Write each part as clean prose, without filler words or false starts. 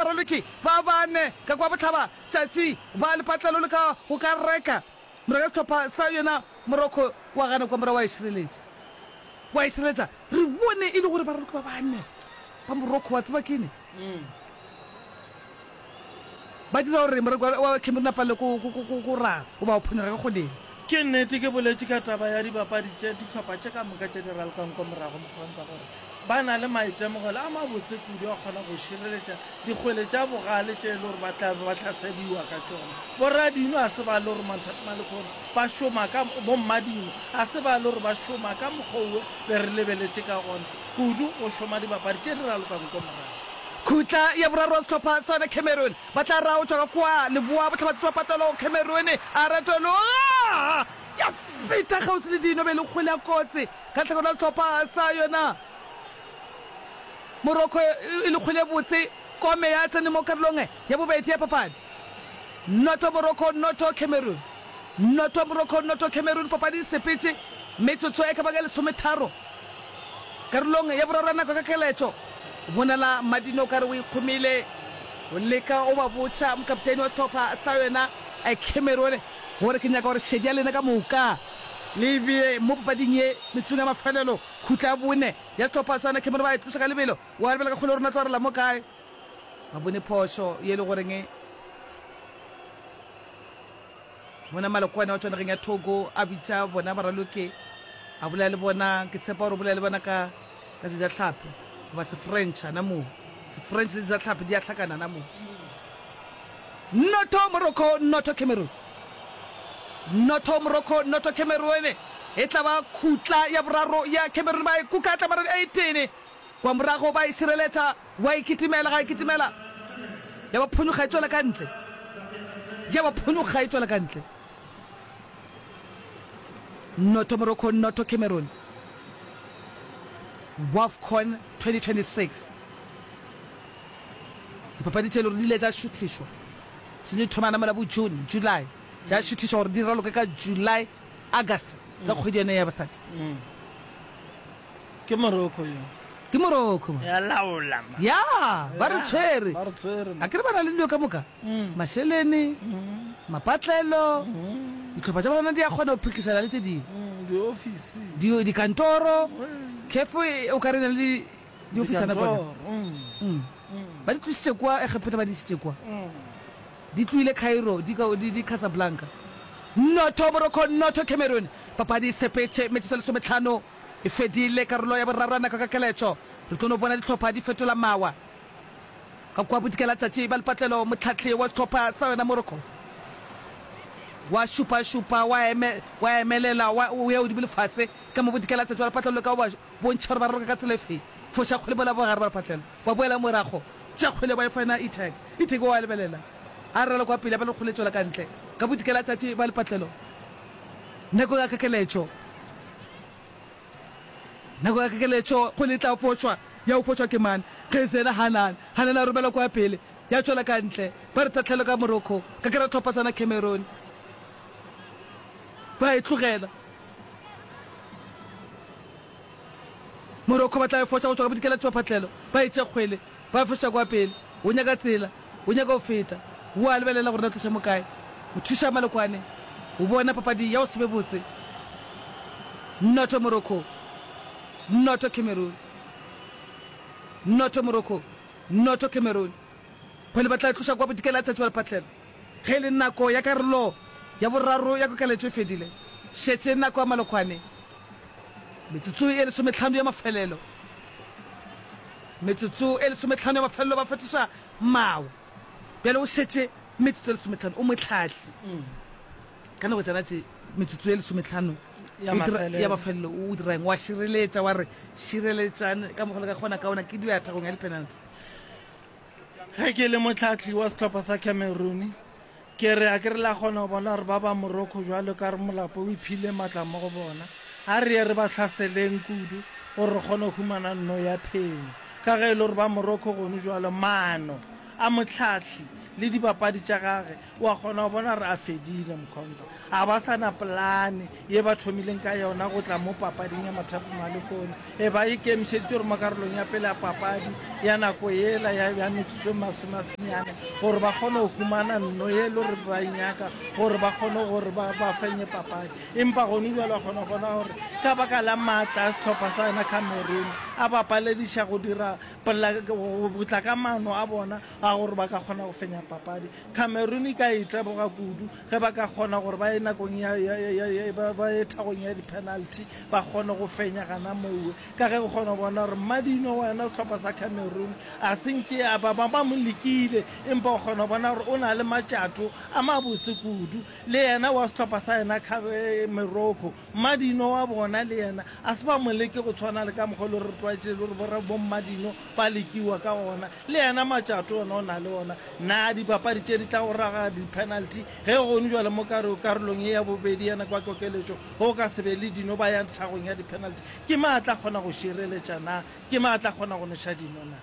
baraloki ba bane ka kwa bohlaba tšatši ba lepatlelo le ka go ka reka morago ya sehlopha sa yona Morocco wa gana kwa morago wa e šireletša wa e šireletša re bone e le gore baraloki ba bane ba Morocco wa tseba kene ba dira gore moreko wa Cameroon a palelwe ko raga goba go phonyokga ka kgoleng. Ke nnete ke boletše ka taba ya dibapadi tše dihlopha tše ka moka tše di ralokang ko morago mokgontsa gore ba na le maitemogelo a mabotse kudu a kgona go šireletša dikgwele tša bogale tše e le gore ba tla be ba hlasediwa ka tšona. Boradino a se ba le gore manthatma lekhono ba šoma ka bommadino a se ba le gore ba šoma ka mokgwa owe be re lebeletše ka gona kudu go šoma dibapadi tše di ralokang ko morago. Khutla ya boraro wa sehlopha sa yona Cameroon ba tla ra o tšwa ka kua leboa bohlabatšatši ba patelo Cameroon a retologa ya feta kgauswi le dino be le kgwele ya kotsi ka tlhakore la sehlopha sa yona Morocco e le kgwele botse kome ya tsene mo karolong ya bobedi ya papadi Noto Morocco noto Cameroon noto Morocco noto Cameroon papadi e sepetše metsotso e ka ba ka lesometharo Karolong ya boraro ya nako ka keletšo, bonala Madino o ka re o ikgomile, o leka o ba botša mokapteini wa sehlopha sa yona Cameroon gore ke nyaka gore šedi ya lena ka moka le e bee mo papading ye metsotsong ya mafelelo. Khutla ya bone ya sehlopha sa yona Cameroon ba e tloša ka lebelo, wa lebela ka kgole gore na tlo arela mo kae. Ba bone phošo ye e le goreng Bona Malokwane wa tšwa nageng ya Togo a bitša bona baraloki a bolela le bona, ke tshepa gore o bolela le bona ka ka Sejatlhapi goba Sefrench ana moo. Sefrench le Sejatlhapi di a hlakana ana moo. Noto Morocco, noto Cameroon. Noto Morocco, noto Cameroon. E tla ba khutla ya boraro ya Cameroon ba e kuka tla mara 18. Kwa morago ba e šireletša Wa e kitimela, ga e kitimela, ya ba phonyokga e tšwela ka ntle. Ya ba phonyokga e tšwela ka ntle. Noto Morocco, noto Cameroon. WAFCON 2026. Dipapadi tše le gore di ile tša šuthišwa. Se di thomana mola bo June, July. Tša šuthišwa gore di raloke ka July, August, ka kgwedi yone ya basadi. Mm. Ke Morocco yo. Ke Morocco man. Ya laola man. Ya, ba re tshwere. Ba re tshwere man. A ke re ba na le dilo ka moka. Mm. Mašelene, mm. mapatlelo, mm. dihlopha tša bona di a kgona go phikisana le tše dingwe. Mm, diofisi. Di dikantoro. Mm. Kefo e, o ka re na le diofisana bona. Mm. Mm. Mm. Ba di tlositše kwa Egepeta ba di isitše kwa. Mm. Di tlohile Cairo di di di Casablanca. Noto Morocco, noto Cameroon. Papadi e sepetše metsotso e lesometlhano. E fedile karolo ya boraro ya nako ka keletšo. Re tlo no bona dihlopha di fetola mawa. Ka kua bodikela-tšatši ba lepatlelo, mohlahli wa sehlopha sa yona Morocco wa šupa-šupa, wa eme, wa emelela, wa o ya godimo le fase ka mo bodikela-tšatši ba lepatlelo leka go ba bontšha gore ba raloka ka tsela efe. Foša kgwele mola bogare ba lepatlelo, ba boela morago, tšea kgwele ba e fa yena Itag. Itag o a lebelela, a raloka kwa pele, a ba le kgwele e tšwela ka ntle. Ka bodikela-tšatši ba lepatlelo, nako ya kekeletšo. Nako ya kekeletšo kgwele e tla fošwa, ya go fošwa ke mang? Ge Zena Hanan, Hanan a romela kwa pele, ya tšwela ka ntle. Ba re tahlelo ka Morocco, ka kera tlhopha sona Cameroon. Ba e tlogela. Morocco ba tla e foša go tšwa ka bodikela tšwaphatlelo, ba e tšea kgwele, ba e foša kwa pele. O nyaka tsela, o nyaka go feta. O a lebelela gore na tloša mo kae. O thuša Malokwane o bona papadi ya go se be botse. Noto Morocco, noto Cameroon. Noto Morocco, noto Cameroon. Kgwele ba tla e tloša kwa bodikela tšatši ba lephatlelo. Ge e le nako ya karolo ya boraro ya kokeletšo e fedile, šetše nako ya Malokwane. Metsotso e lesometlhano ya mafelelo. Metsotso e lesometlhano ya mafelelo ba fetoša mawa. Bjale o šetše metsotso e lesometlhano, o mohlahli. Ka nako tšana tše metsotso e lesometlhano Ya o dira- mafelelo. ya mafelelo o dira eng? Wa šireletša, wa re šireletšang ka mokgwa le ka kgona ka ona ke dio ya thagong ya di-penalty. Ge ke le mohlahli wa sehlopha sa Cameroon, ke re a ke re la kgona go bona gore ba ba Morocco bjalo ka re molapo o iphile matla mo go bona. A re ye re ba hlaseleng kudu gore re kgone go humana nno ya phenyo. Ka ge e le gore ba Morocco gone bjalo maano a mohlahli. le dibapadi tša gage, wa kgona go bona gore a fedile Mkhonza. Ga ba sa na polane ye ba thomileng ka yona go tla mo papading ya mathapama a lehono. E ba ikemišeditše gore mo karolong ya pele ya papadi ya nako yela ya, ya metsotso e masomesenyane gore ba kgone go humana nno ye e le gore ba e nyaka gore ba kgone gore ba, ba fenye papadi. Empa gone bjale wa kgona go bona gore ka baka la maatla a sehlopha sa yona Cameroon a ba palediša go dira pola, go tla ka maano a bona a gore ba ka kgona go fenya papadi. Cameroon e ka iteboga kudu ge ba ka kgona gore ba ye nakong ya, ya, ya, ya, ba, ba ye thagong ya di-penalty ba kgone go fenya gana mowe, ka ge o kgona go bona gore Mmadino wa yona sehlopha sa Cameroon a se nke a ba, ba, ba mo lekile, empa o kgona go bona gore o na le matšato a mabotse kudu. Le yena wa sehlopha sa yena Morocco, Mmadino wa bona le yena a se ba mo leke go tshwana le ka mokgwa o le re tlwaetše le gore bommadino ba lekiwa ka gona. Le yena Matšato yena o na le ona. Na dipapadi tše di tla go raga di-penalty ge gone bjale mo karolong ye ya bobedi ya nako ya kokeletšo go ka se be le dino ba ya tlhagong ya di-penalty? Ke mang a tla kgona go šireletša na? Ke mang a tla kgona go noša dino na?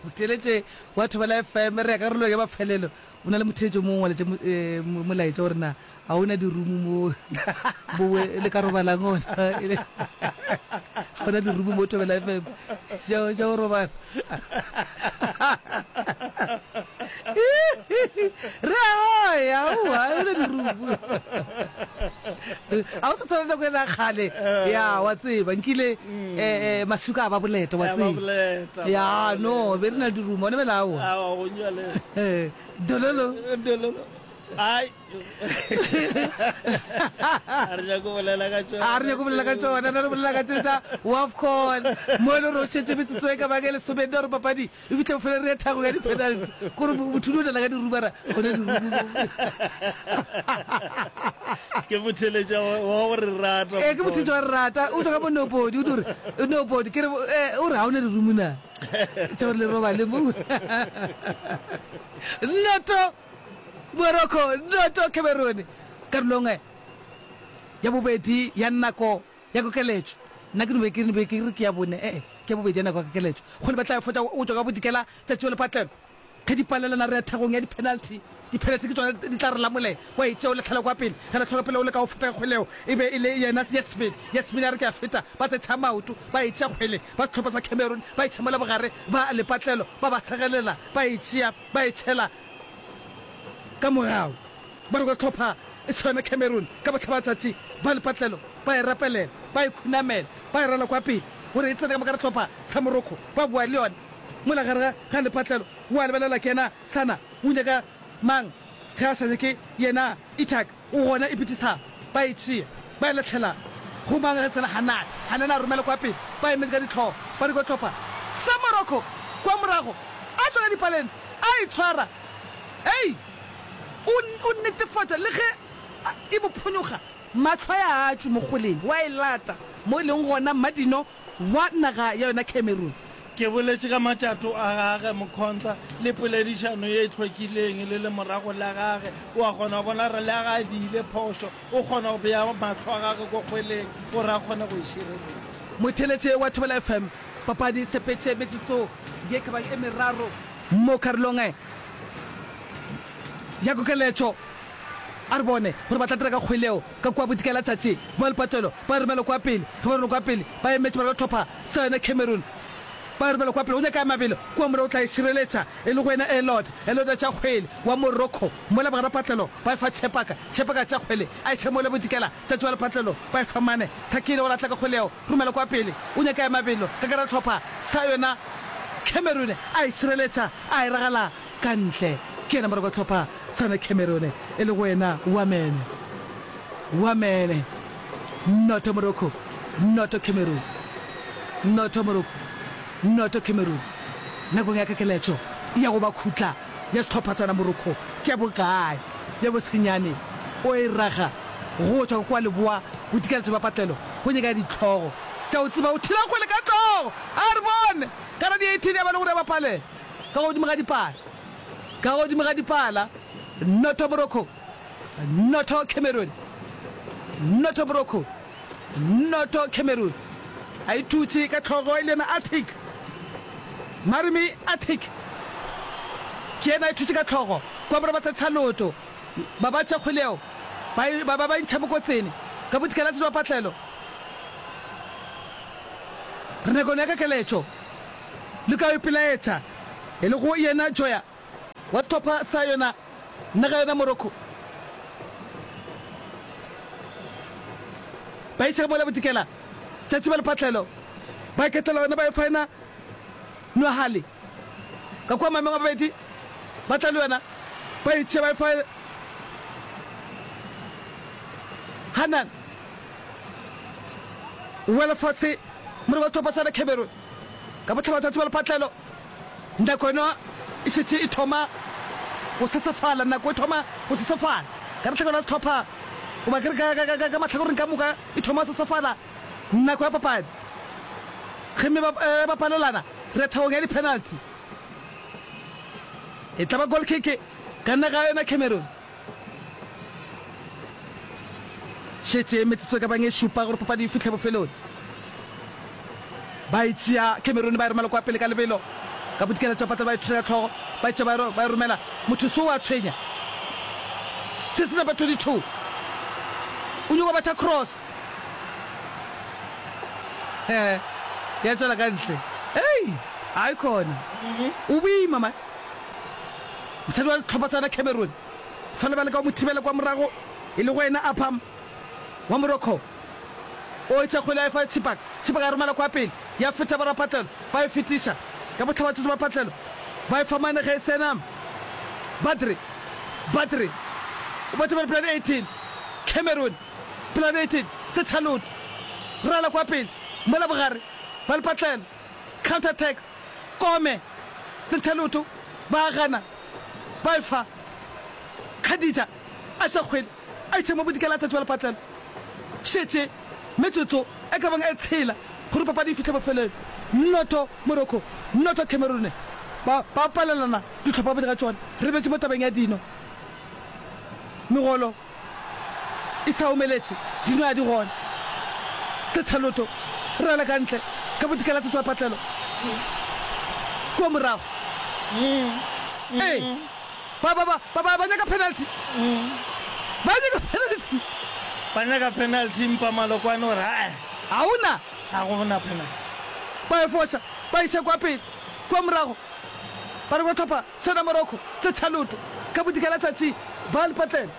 Motheeletše wa Thobela FM, re ya karolong ya mafelelo. O na le motheetši o mongwe o ngwaletše molaetša gore na ga o na dirumu mo mo le ka robalang gona. Ga o na dirumu mo Thobela FM tša go robala. Re a goya, aowa, ga o na dirumu. Ga o sa tshwana le nako ela ya kgale. Ya, wa tseba, nkile masuka a ba boleta, wa tseba. Ya, no, be re na le dirumu, gona bjale aowa. Dololo. Dololo. Ai. A re nyake go bolela ka tšona. A re nyake go bolela ka tšona, na re bolela ka tše tša WAFCON. Mo e le gore o šetše metsotso e ka bang e lesomenne gore papadi e fihle bofelo re ye thago ya di-penalty. Kore mothudi o nana ka dirumara, gona dirumu mo. Ke motheletša wa go re rata. Ee, ke motheletša wa re rata. O tšwa ka mo Nobody, o no re, Nobody, ke re, o re ga o na dirumu na? Tša gore le robale mo. Noto! Morocco noto Cameroon karolong ya bobedi ya nako ya kokeletšo. Nna ke no be ke be ke re ke ya bone, ee, ke ya bobedi ya nako ya kokeletšo. Kgole ba tla fotša go tšwa ka bodikela tšatši wa lepatlelo. Ge di palelana re ya thagong ya di-penalty. Di-penalty ke tšona di tla re lamolela. Wa e tšea o lahlela kwa pele. Ge lahlela pele o leka go feta ka kgwele yeo e be e le yena Yasmin. Yasmin a re ke a feta, ba tsetšha maoto, ba e tšea kgwele ba sehlopha sa Cameroon ba e tšha mola bogare ba lepatlelo ba ba segelela ba e tšea ba e tšhela Ka morago, ba re hlopha e swana Cameroon ka bohlabatsatši ba lepatlelo ba e rapelela, ba e khunamela, ba e rala kwa pele gore e tsene ka moka hlopha sa Morocco ba boa le yona mola gare ga lepatlelo. Wa lebelela ke yena Sana o nyaka mang ge a sa nyake yena Itak o gona Ibtisam ba e tšea ba e lahlela go mang ge sena Hanane. Hanane a romela kwa pele ba emetše ka dihlogo ba re kwa hlopha sa Morocco kwa morago a tšwela dipaleng a itshwara. Ei! O, o netefatša, le ge e mo phonyokga, mahlo a ya a tšwe mo kgoleng, wa e lata mo e leng gona Mmadino wa naga ya yona Cameroon. Ke boletše ka matšato a gage, Mkhonza, le poledišano ye e hlwekileng le lemorago la gage. O a kgona go bona gore le ge a diile phošo, o kgona go bea mahlo a gage ko kgweleng gore a kgone go e šireletša. Motheeletše wa Thobela FM, papadi e sepetše metsotso ye ka bang e meraro. Mo karolong ya kokeletšo, a re bone gore ba tla dira ka kgwele yeo ka kua bodikela tšatši. Ba lepatlelo ba e romela kua pele. Ge ba romela kua pele, ba emetše ba re hlopha sa yona Cameroon. Ba e romela kua pele, go nyaka ya mabelo kua morago o tla e šireletša e le go yena Elod. Elod a tšea kgwele wa Morocco mola bogare patlelo ba e fa Chepaka. Chepaka a tšea kgwele a e tšha mola bodikela tšatši ba lepatlelo ba e fa Mane. Sakile gore a tla ka kgwele yeo. Romela kwa pele, o nyaka ya mabelo ka gare ga hlopha sa yona Cameroon, a e šireletša, a e ragala ka ntle. Ke yena morako wa hlopha sa yona Cameroon, e lego yena Wamene. Wamene. Noto Morocco, noto Cameroon. Noto Morocco, noto Cameroon. Nakong ya kekeletšo ya go ba khutla ya sehlopha sa yona Morocco ke ya bokae? Ya bosenyane, o e raga go tšwa kua leboa bodikela sebapatlelo go nyaka dihlogo tša go tseba go thula kgwele ka hlogo. A re bone ka la di 18 ya ba le gore ya bapale ka godimo ga dipala. Ka godimo ga dipala, noto Morocco, noto Cameroon, noto Morocco, noto Cameroon. A e thutše ka hlogo e le yena Atik, Marimi Atik. Ke yena a e thutše ka hlogo. Kwa borwa ba thetha leoto. Ba ba tšea kgwele yeo, ba e, ba, ba, ba e ntšha mokotsene. Ka bodikela tša patlelo. Re nakong ya kekeletšo. Le ka ipelaetša, e lego yena Joya wa sehlopha sa yona naga yona Morocco. Ba iša mola bodikela, tšatši ba lepatlelo, ba iketlela yona ba e fa yena Nwahale. Ka kua mameng a babedi ba tla le yona ba e tšea ba e fa Hanan. O wela fase more wa sehlopha sa Cameroon ka bohlabatšatši ba lepatlelo. Nako yona e šetše e thoma go sesefala, nako e thoma go sesefala ka lehlakore la sehlopha goba ke re ka, ka, ka mahlakoreng ka moka e thoma go sesefala nako ya papadi. Ge mme ba, eh, ba palelana, re thakong ya di-penalty. E tla ba goal kick ka naga yona Cameroon. Šetše metsotso e ka bang e šupa gore papadi e fihle bofelong. Ba e tšea Cameroon ba e romela kwa pele ka lebelo. Ka bodikela tša patla ba e thula ka hlogo, ba e tšea ba e romela. Motho so wa tshwenya. Se se number 22. O nyoko betha cross. Eh, ya tšwela ka ntle. Ei, ai khona. O boima man. Mosadi wa sehlopha sa Cameroon. Fela ba leka go mo thibela kwa morago e lego yena Apham wa Morocco. O etša kgwele a e fa Chipak. Chipak a e romela kwa pele, ya feta borapatlelo, ba e fetiša ka bohlabatšatši ba patlelo, ba e fa mane ge e sena Badri. Badri o ba thibela plan 18. Cameroon plan 18 Setšhaloto rala kwa pele mola bogare ba lepatlelo counter attack Kome Setšhaloto ba gana ba e fa Khadija a tša kgwele a iša mo bodikela a tšatši ba lepatlelo. Šetše metsotso e ka bang e tshela gore papadi e fihle bofelong. Noto Morocco, noto Cameroon ba ba palelana dihlopha bobedi ga tšona. Re betše mo tabeng ya dino. Megolo e sa omeletše, dino a di gona. Tsetšha loto, rala ka ntle ka bodikela tsetšwa patlelo kua morago. Ee. Ba, ba, ba, ba, ba, ba nyaka penalty. Ba nyaka penalty. Ba nyaka penalty empa Malokwane o re ae. Ga go na. Ga go na penalty. Ba e foša, ba iša kwa pele, kua morago. Ba re ba hlopha sona Morocco se tšhaloto ka bodikela tšatši ba lepatlela.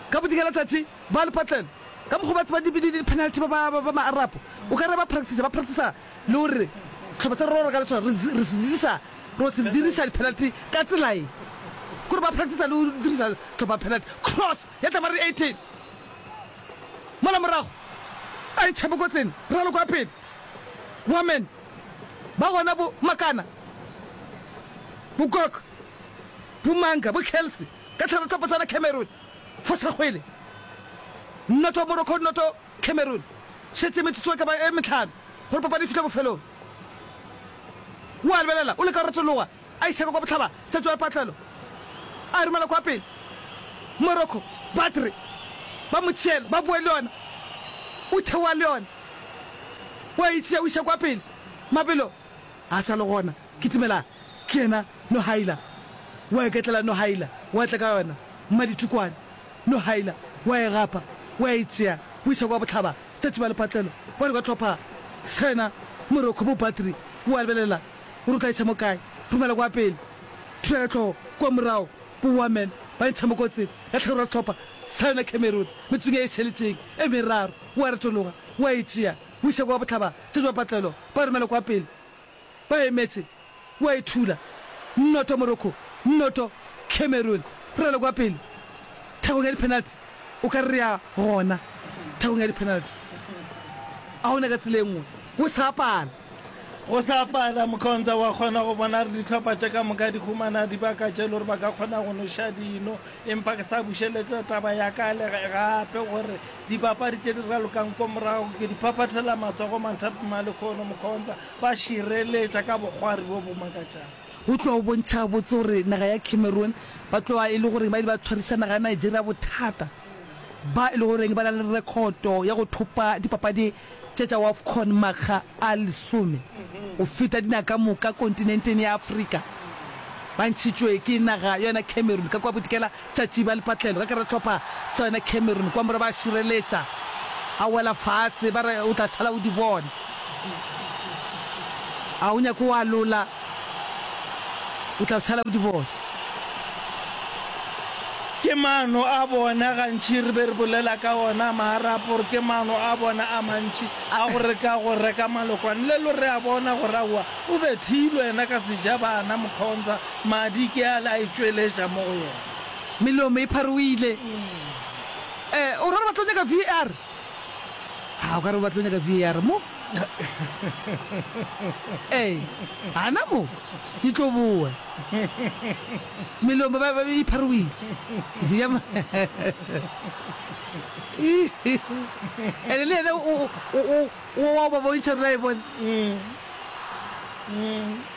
Ka bodikela tšatši ba lepatlela. Ka mokgwa ba tseba di, di, di penalty ba, ba, ba, ba ma-Arab. O ka re ba practice, ba practice le gore sehlopha se re rora ka le sona re, re se diriša Ro se diriša di-penalty ka tsela ye. Kore ba practice le go diriša sehlopha penalty. Cross ya tla ba re 18. Mola morago a e ntšha mokotseng raloko ya pele. Wamen ba gona bo Makana, bo Gok, bo Manga, bo Kelsey ka tlhalo tlhopo tsana Cameroon. Foša kgwele. Noto Morocco noto Cameroon. Šetše metsotso e ka ba e mehlano gore papadi e fihle bofelong. O a lebelela, o leka go retologa, a iša ka kwa bohlaba, tšatši wa lepatlelo, a e romela kwa pele. Morocco, Badri, ba mo tšeela, ba boe le yona. O theoga le yona, o a e tšea, o iša kwa pele. Mabelo a sa le gona, kitimela, ke yena Nohaila. O a iketlela Nohaila, o a tla ka yona, mmaditukwane. Nohaila, o a e gapa, o a e tšea, o iša kwa bohlaba, tšatši ba lepatlelo, ba re ba hlopha sena, Morocco, bo Badri, o a lebelela gore o tla iša mo kae, romela kwa pele, thula ka hlogo, kua morago, bo Wamen, ba ntšha mo kotsing, ka tlhagelo ya sehlopha sa yona Cameroon, metsotsong ye e šaletšeng e meraro, o a retologa, o a e tšea, o iša kwa bohlaba, tšatši ba patlelo, ba romela kwa pele. Ba emetše, o a e thula. Noto Morocco, noto Cameroon. Re rale kwa pele thakong ya di-penalty. O ka re re ya gona thakong ya di-penalty. A gona ka tsela e nngwe. Go sa pala. Go sa pala, Mkhonza wa kgona go bona gore dihlopha tše ka moka di humana dibaka tše le gore ba ka kgona go noša dino. Empa ke sa bušeletša taba ya ka le gape gore dibapadi tše di ralokang ko morago ke di phaphathela matsogo manthapama lekhono, Mkhonza. Ba šireletša ka bokgwari bjo bo makatšago. Go tloga go bontšha gabotse gore naga ya Cameroon ba tloga e le gore ba ile ba tshwariša naga ya Nigeria bothata, ba e le goreng ba na le rekhoto ya go thopa dipapadi tše tša Wafcon makga a lesome go feta dinaga ka moka kontinenteng ya Afrika. Ba ntšhitšwe ke naga ya yona Cameroon ka kua bodikela tšatši ba lepatlelo ka kare hlopha sa yona Cameroon kwa morago ba šireletša a wela fase ba re o tla šala o di bona a o nyake o alola o tla šala o di bona. Ke maano a bona, gantši re be re bolela ka ona maarapo gore ke maano a bona a mantši a go reka go reka malokwane. Lelo re a bona gore aowa o bethilwe yena ka sejabana Mkhonza, madi ke ale a itšweletša mo go yena. Melomo e pharohile. Eh, o ra gore ba tlo nyaka VAR? Ha, o ka re ba tlo nyaka VAR mo. Ee, gana mo di tlo boa. Melomo ba, ba e pharohile. Ya Ene le yena o, o, o, o wa ba bontšha rena e bone.